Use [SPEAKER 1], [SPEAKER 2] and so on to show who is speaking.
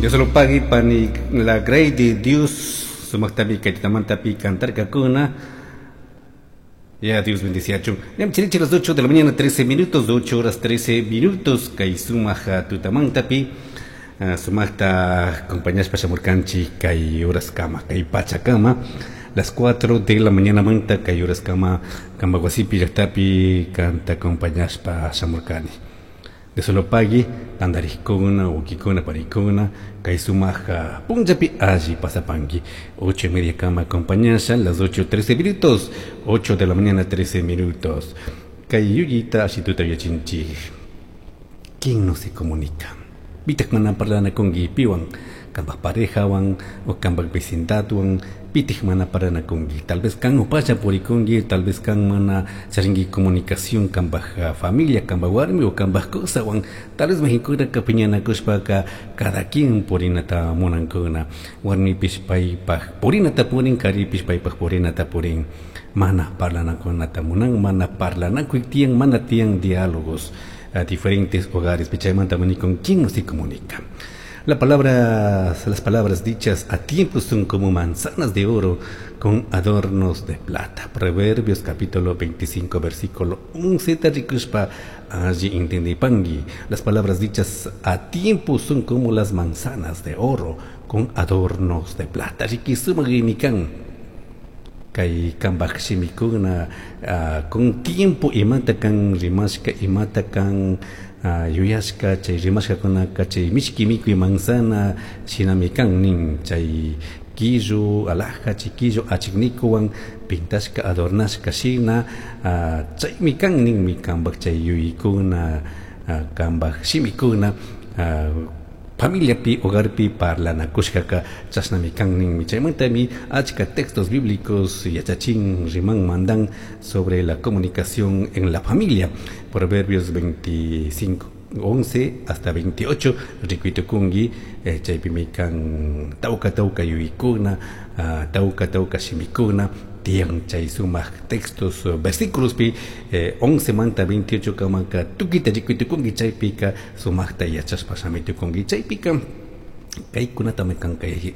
[SPEAKER 1] Dios lo pague pani la grey de Dios sumaqtami kay tutamantapi cantarkakuna. Ya Dios bendiciachun. Ñam chirichi las 8 de la mañana 13 minutos, 8 horas 13 minutos kay sumaq tutamantapi sumaqta acompañashpa shamurkanchik kay horaskama, kay pachakama, las 4 de la mañana manta kay horaskama kanpak wasipi llaktapi kanta acompañashpa shamurkani. Dios lo pague tantarikuna, wawkikuna, panikuna, kay sumaq punllapi alli pasapanki. 8:30 kama acompañasha, las 8:13 minutos, 8 de la mañana 13 minutos. Kay yuyita ashituta yachinchik. ¿Quién no se comunica? Pitak mana parlanakunki piwan, kanpak parejawan o kanpak vecindadwan, pitik mana parlanakunki. Tal vez kan upalla purikunki, tal vez kan mana charinki comunicación kanpak familia, kanpak warmi o kanpak kusawan. Tal vez mayqinkunaka piñanakushpaka cada quien purinata munankuna. Warmipish paypak purinata purin, karipish paypak purinata purin. Mana parlanakunata munan, mana parlanakuy tiyan, mana tiyan diálogos a diferentes hogares. Chaymanta con quién no se comunica. Las palabras dichas a tiempo son como manzanas de oro con adornos de plata. Proverbios capítulo 25, versículo 11. Tarikushpa alli intendipangui. Las palabras dichas a tiempo son como las manzanas de oro con adornos de plata. Rikisumagimi kan. Kay kanpak shimikuna con tiempo imata kan rimashka, imata kan yuyashka, chay rimashkakunaka chay mishki mikuy manzana shinami kan nin, chay quillo alhaja, chiquillo achiknikuwan pintashka adornashka shina, chaymi kan ninmi kanpak chay yuyaykuna, kanpak shimikuna, familiapi, hogarpi parlanakushkaka chashnami kan ninmi. Chaymantami achka textos bíblicos yachachin riman mandan sobre la comunicación en la familia. Proverbios 25, 11 hasta 28, rikuitukunki, chaypimi kan tawka tawka yuyaykuna, tawka tawka shimikuna, tiyan chay sumaq textos, versículos pi, 11 manta 28 kamaka tukita rikuitukunki, chaypika sumaqta yachashpa shamitukunki, chaypika kaykunatami kan kay